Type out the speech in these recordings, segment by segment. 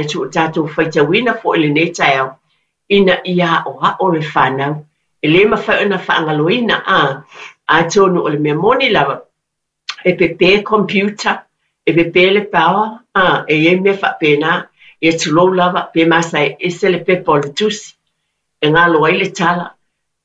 atu ua tatou faitauina foi i lenei taeao ina ia aoao le fanau. E le mafai ona faagaloina, a, atonu o le mea moni lava, e pepe computer, e pepe le power, a, e i ai mea faapena, ia tulou lava, pe masae ese le pepa o le tusi, e galo ai le tala,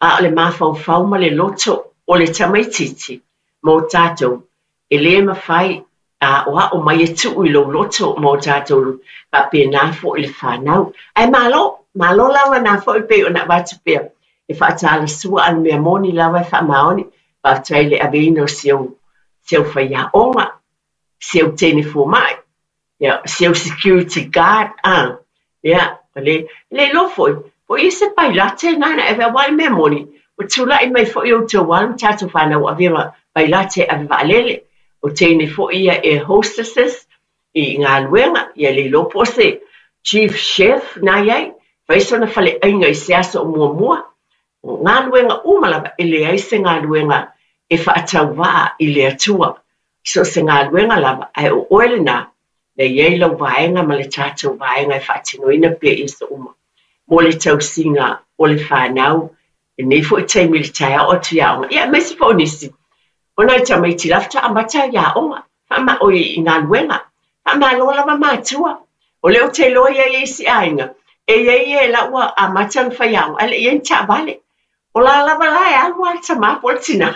a o le mafaufau ma le loto o le tamaitiiti ma o tatou, e le mafai a aoao mai e tuu i lou loto ma o tatou faapena foi le fanau. Ae malo, malo lava na foi pei ona avatu pea e faatalasua a le mea moni lava e faamaoni. Faafetai i le aveina o si au, si au faiaoga, si au teine fomai, ia, si au security guard, a, ia, le, le iloa foi, po i se pailate na na ave aua le mea moni, ua tulai mai foi outou alo ma tatou fanau ua avea ma pailate ave vaalele, o teine foi ia air hostesses i galuega, ia le iloa po o se chief chef na i ai, fai sona faleaiga i se aso o muamua. O galuega uma lava, e leai se galuega e faatauvaa i le Atua. So o se galuega lava, ae o oe lena, na i ai lau vaega ma le tatou vaega e faatinoina pea i aso uma. Mo le tausiga o le fanau, lenei foi taimi i le taeao atu i aoga, ia aemaise foi o nisi o nai tamaiti la faatoa amata i aoga, faama, oi, i galuega. Faamalo lava matua. O lea ou te iloa e i ai isi aiga, e i ai e la ua amata ona fai aoga, ae le i i ai ni taavale. O la lava la e alu lava le tamā po o le tinā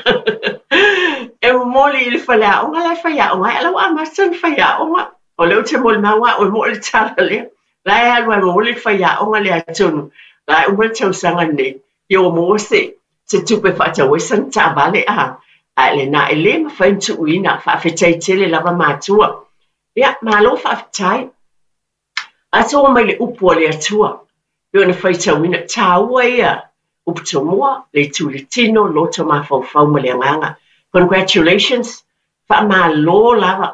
e momoli i le faleaoga la e faiaoga ai, a o la ua amata ona faiaoga. O lea ou te molimau au e moʻo le tala lea. La e alu lava e momoli le faiaoga lea atonu la e uma le tausaga lenei, ia ua maua se se tupe e faatau ai sana taavale a. Ae lena e le mafai ona tuuina, faafetai tele lava matua. Ia, malo faafetai. Atoa mai le upu a le Atua, pei ona faitauina, taua ia upu tomua, le itu i le tino, loto mafaufau ma le agaga. Congratulations, faamalo lava.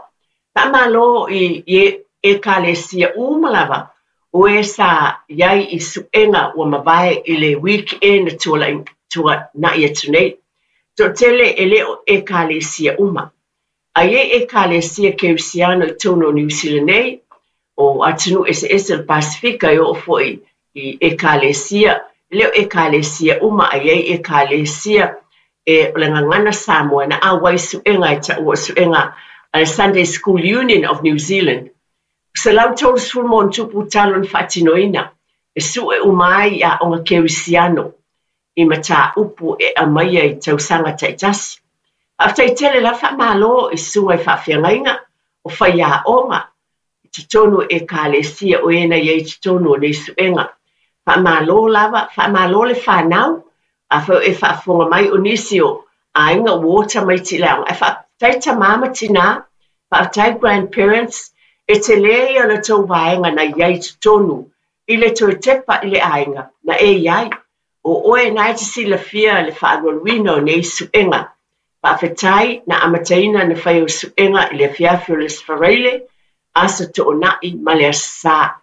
Faamalo i i Ekalesia uma lava o e sa i ai i suega ua mavae i le weekend tuana'i atu nei. Toatele e le o Ekalesia uma. A i ai Ekalesia Kerisiano i totonu o Niu Sila nei, o atunuu eseese o le Pasefika e oo foi i Ekalesia, e le o Ekalesia uma, a i ai Ekalesia e o le gagana Samoa na auai i suega e taua o suega a le Sunday School Union of New Zealand. 130 ma ono tupu talo na faatinoina e sue uma ai i aoga Kerisiano i mataupu e aumaia i tausaga taitasi. Faafetai tele lava, faamalo i susuga i faafeagaiga o faiaoga i totonu o Ekalesia o e na i ai i totonu o nei suega. Faamalo lava, faamalo le fanau, afai o e faafofoga mai o nisi o aiga ua o tamaiti i le aoga. Ae faafetai tamā ma tinā, faafetai grandparents, e tele ia o le tou vaega na i ai i totonu i le toe tepa i le aiga na e i ai. O oe na e te silafia le faalualuina o nei suega. Faafetai na amataina na fai o suega i le afiafi o le Aso Faraile, Aso Toonai ma le Aso Sa.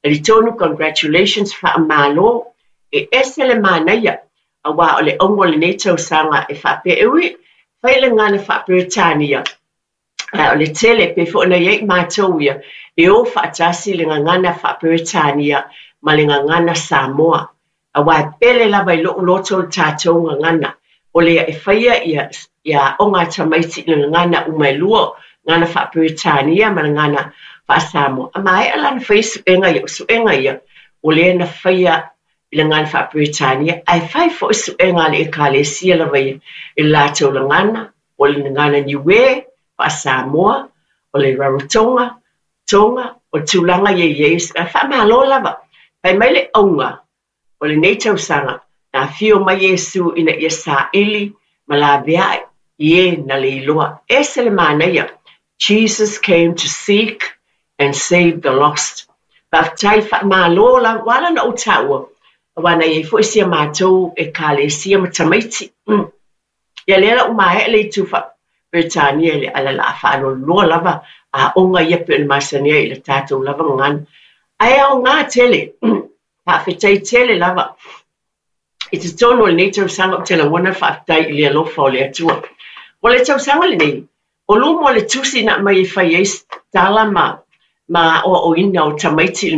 Talitonu congratulations faamalo e ese le manaia aua o le auga o lenei tausaga e faapea e ui fai le gagana faa-Peretania ae o le tele pei foi ona i ai matou ia e o faatasi le gagana faa-Peretania ma le gagana Samoa aua e pele lava i lou loto le tatou gagana o lea e faia ia ia aoga a tamaiti i le gagana uma e lua, gagana faa-Peretania ma le gagana faa-Samoa. A maea la ona faia suega ia, o suega ia o lea na faia i le gagana faa-Peretania ae fai foi suega a le Ekalesia lava ia i le latou gagana o le gagana Niue, faa-Samoa, o le Rarotonga, Tonga, o tulaga ia i ai, faamalo lava. Fai mai le auga o lenei tausaga, na afio mai Iesu ina ia saili ma laveai i e na le iloa. Ese le manaia. Jesus came to seek and save the lost. Faafetai faamalo lava, ua ala ona ou taua, aua na i ai foi si a matou Ekalesia ma tamaiti. Ia lea la ua maea le itu faa-Peretania i le ala la faalualua lava aoga ia pei ona masani ai i le tatou lava gagana. Ae aoga tele, faafetai tele lava i totonu o lenei tausaga ou te lagona le faafetai i le alofa o le Atua. O le tausaga lenei, o luma o le tusi na aumai e fai ai tala ma ma aʻoaʻoina o tamaiti i lenei.